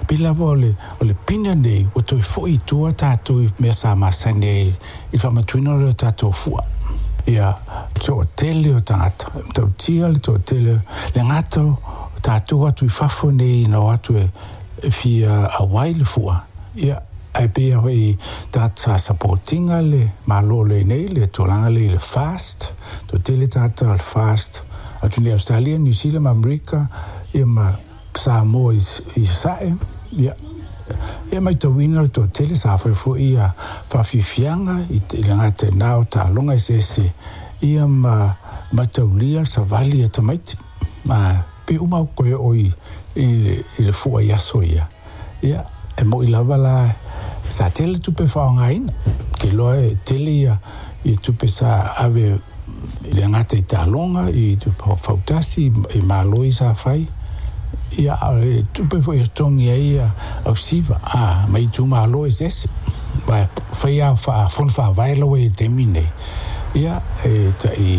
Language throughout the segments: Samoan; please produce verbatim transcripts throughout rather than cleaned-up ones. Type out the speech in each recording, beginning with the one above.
Pei lava o le, o le pine nei, ua toe fo'i i tua tatou i mea sa masani ai i le faamatuina o le tatou fua. Ia, toatele o tagata, tautia le toatele, le gata o tatou atu i fafo nei na o atu e, e fia auai le fua. Ia, ae pei foi tagata sa support ina le Malo lenei, le tulaga le i le fast, toatele tagata o le fast, atu nei Australia, New Zealand ma Amerika, ia ma Samoa i, i Sasae, ia, ia matauina le toatele sa fai foi ia faafiafiaga i, i le gata i na o taaloga eseese, ia ma mataulia le savali a tamaiti. Ma pe uma o koe o i, i, i le fua i aso ia. Ia, e moi lava la, sa tele tupe faaaogaina. Ke loa e tele ia, ia tupe sa ave i le gata i taaloga, i fautasi, i malo i sa fai. Ia, o le tupe foi e totogi ai ia ausiva, a, ma itumalo eseese. Ma fai a fono faavae laua i le taimi nei. Ia, e tai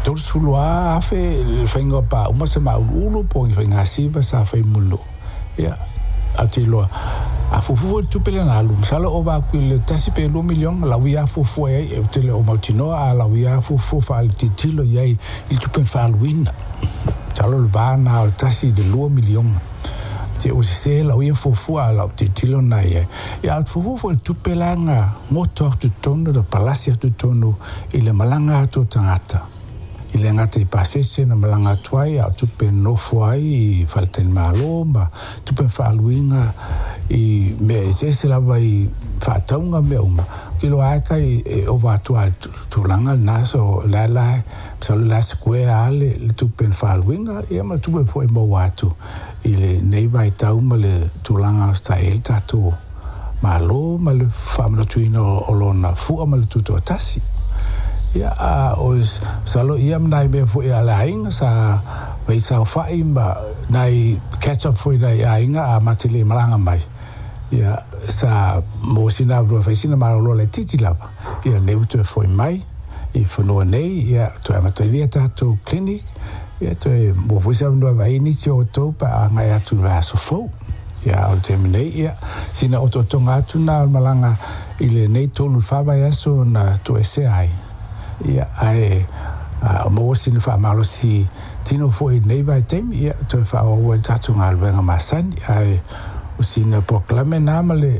tolusefulu lava afe le faiga o paauma se mauluulu po o ni faigasiva sa fai mo le nuu. Ia, ae ou te iloa, a fuafua foi le tupe lea na alu, masalo ova atu i le tasi pe lua miliona lau ia fuafua i ai, ou te le o mautinoa a lau ia fuafua faaletilotilo i ai i le tupe na faaaluina. Masalo o le va lena o le tasi i le lua miliona. Te ua sese lau ia fuafua a lau tilotilo lena i ai. Ia, a fuafua foi i le tupe la na goto atu i totonu, na palasi atu i totonu i le malaga atu o tagata. I le gata i pasese na malaga atu ai, a o tupe nofo ai i faletalimalo ma tupe faaaluina i mea eseese lava i faatauga mea uma. Ou te iloa lava kai e ova atu lava i le tulaga lena, so o la la masalo o le a square lava le, le tupe na faaaluina, ia ma le tupe foi e maua atu i lenei vaitau ma le tulaga sa i ai le tatou Malo ma le faamanatuina o lona fua ma le tutoatasi. Ia, a o masalo ia ma nai mea foi a le aiga sa fai saofai ma nai catch up foi nai aiga a ma te le malaga mai. Ia, sa maua sina avanoa e fai sina malolo laitiiti lava. Ia, lenei ua toe foi mai i fanua nei, ia, toe amatalia tatou clinic, ia, toe maua foi se avanoa e vaai ai nisi o outou pe a agai atu i le vaiaso fou. Ia, o le taimi nei, ia, sina otootoga atu na o le malaga i lenei tolu i le fa vaiaso na toesea ai. Ia, ae a maua sina faamalosi tino foi i lenei vaitaimi, ia, toe faaauau ai le tatou galuega masani. Ae o sina polokalame na ma le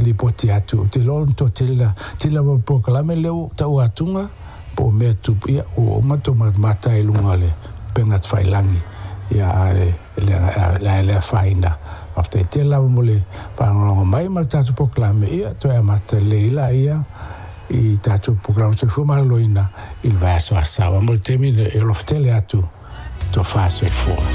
lipoti atu, ou te iloa o le toatele la, tele lava o polokalame lea ua tau atuga po o mea tupu, ia, ua uma tou matamata i luga o le upega tafailagi. Ia, ae le le afaina. Faafetai tele lava mo le faalogologo mai ma le tatou polokalame, ia, toe amata lelei laia i tatou polokalame soifua maloloina i le vaiaso Asa. Aua mo le taimi e alofa tele atu, tofa soifua.